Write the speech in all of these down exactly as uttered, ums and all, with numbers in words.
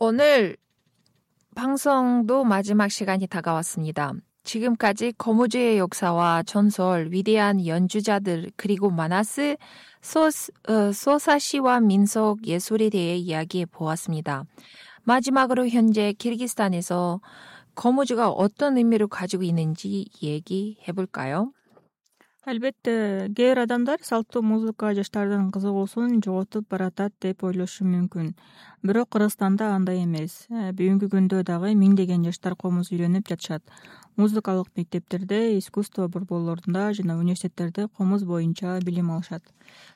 오늘 방송도 마지막 시간이 다가왔습니다. 지금까지 거무주의 역사와 전설, 위대한 연주자들, 그리고 마나스, 소, 어, 소사시와 민속 예술에 대해 이야기해 보았습니다. 마지막으로 현재 키르기스탄에서 거무주가 어떤 의미를 가지고 있는지 얘기해 볼까요? Албетте, кээ бир адамдар салттуу музыка жаштардын кызыгуусун жоготуп баратат деп ойлошу мүмкүн. Бирок Кыргызстанда андай эмес. Бүгүнкү күндө дагы миңдеген жаштар комуз үйрөнүп жатышат. Музыкалык мектептерде, искусство борборлорунда жана университеттерде комуз боюнча билим алышат.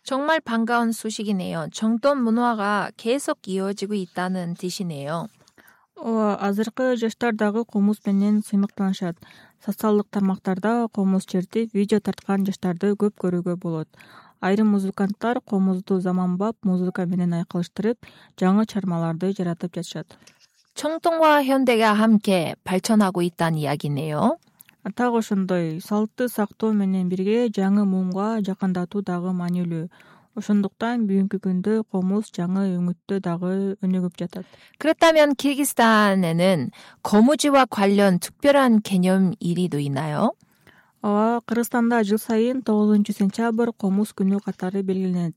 정말 반가운 소식이네요. 정돈 문화가 계속 이어지고 있다는 뜻이네요. Ооба, азыркы жаштар дагы комуз менен сыймыктанышат. Социалдык тармактарда комуз чертип, видео тарткан жаштарды көп көрүүгө болот. Айрым музыканттар комузду заманбап музыка менен айкалыштырып, жаңы чармаларды жаратып жатышат. 청동과 현대가 함께 발전하고 있다는 이야기네요. Так ошондой, салтты сактоо менен бирге жаңы муумга жакындатуу дагы маанилүү. Ошондуктан бүгүнкү күндө комуз жаңы өңүттө дагы өнүгүп жатат. 그렇다면 키르기스탄에는 거무지와 관련 특별한 기념일이도 있나요? Ооба, Кыргызстанда жыл сайын тогузунчу сентябрь комуз күнү катары белгиленет.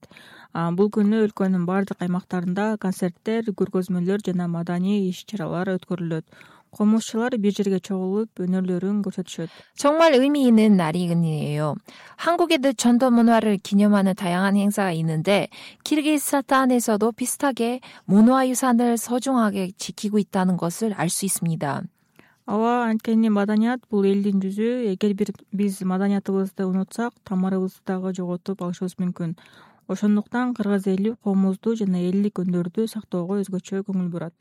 Бул күнү өлкөнүн бардык аймактарында концерттер, көргөзмөлөр жана маданий иш-чаралар өткөрүлөт. Комузчулар бир жерге чогулуп өнөрлөрүн көрсөтүшөт. 정말 의미 있는 날이네요. 한국에도 전통 문화를 기념하는 다양한 행사가 있는데 키르기스탄에서도 비슷하게 문화유산을 소중하게 지키고 있다는 것을 알 수 있습니다. Ооба, анткени маданият бул элдин жүзү. Эгер бир биз маданиятыбызды унутсак, тамырыбызды дагы жоготуп алышыбыз мүмкүн. Ошондуктан кыргыз эли комузду жана элдик өндөрдү сактоого өзгөчө көңүл бурат.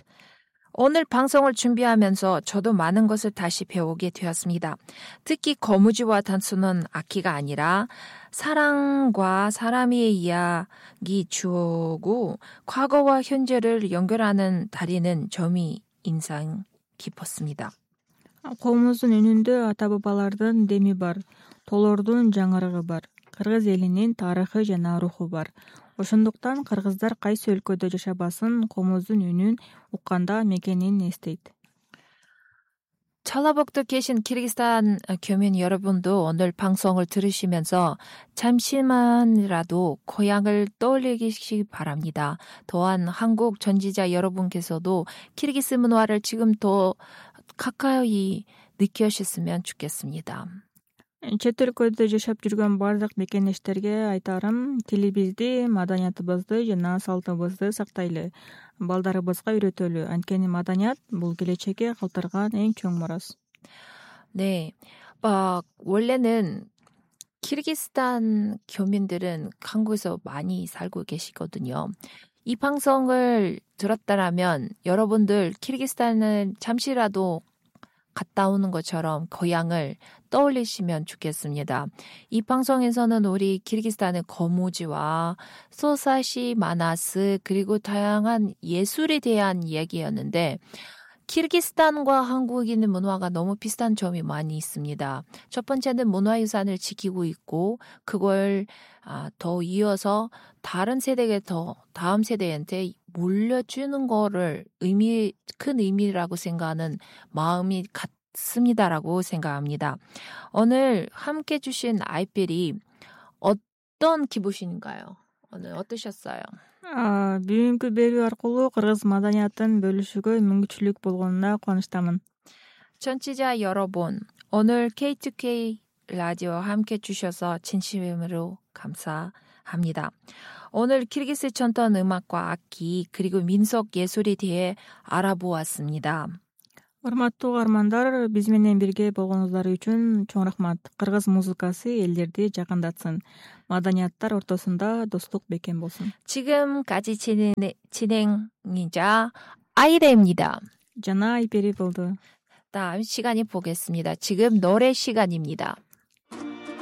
오늘 방송을 준비하면서 저도 많은 것을 다시 배우게 되었습니다. 특히 거무지와 단수는 악기가 아니라 사랑과 사람의 이야기 주어고 과거와 현재를 연결하는 다리는 점이 인상 깊었습니다. Комуздун үнүндө ата бабалардын деми бар, тоолордун жаңырыгы бар, кыргыз элинин тарыхы жана руху бар. Ошондуктан кыргыздар кайсы өлкөдө жашабасын, комуздун үнүн укканда мекенин эстейт. 전라북도 계신 키르기스탄 교민 여러분도 오늘 방송을 들으시면서 잠시만이라도 고향을 떠올리시기 바랍니다. 또한 한국 전지자 여러분께서도 키르기스 문화를 지금 더 가까이 느끼셨으면 좋겠습니다. Чет өлкөдө жашап жүргөн бардык мекендештерге айтарым, тилибизди, маданиятыбызды жана салтыбызды сактайлы, балдарыбызга үйрөтөлү. Анткени маданият бул келечекке калтырган эң чоң мурас. 네, 막 원래는 키르기스탄 교민들은 한국에서 많이 살고 계시거든요. 이 방송을 들었다라면 여러분들 키르기스탄을 잠시라도 갔다 오는 것처럼 고향을 떠올리시면 좋겠습니다. 이 방송에서는 우리 키르기스탄의 거무지와 소사시, 마나스 그리고 다양한 예술에 대한 이야기였는데 키르기스탄과 한국인의 문화가 너무 비슷한 점이 많이 있습니다. 첫 번째는 문화유산을 지키고 있고 그걸 더 이어서 다른 세대에 더 다음 세대한테 물려주는 거를 의미 큰 의미라고 생각하는 마음이 같습니다라고 생각합니다. 오늘 함께 주신 아이필이 어떤 기분인가요? 오늘 어떠셨어요? Бүгүнкү берүү аркылуу кыргыз маданиятын бөлүшүүгө мүмкүнчүлүк болгонуна кубанычтамын. 청취자 여러분, 오늘 케이투케이 라디오와 함께 주셔서 진심으로 감사합니다. 오늘 키르기스 전통 음악과 악기 그리고 민속 예술에 대해 알아보았습니다. Урматтуу угармандар, биз менен бирге болгонуңуздар үчүн чоң рахмат. Кыргыз музыкасы элдерди жакындатсын. Маданияттар ортосунда достук бекем болсун. 지금까지 진행, 진행이자 아이레입니다. жана Айпери болду. 다음 시간에 보겠습니다. 지금 노래 시간입니다.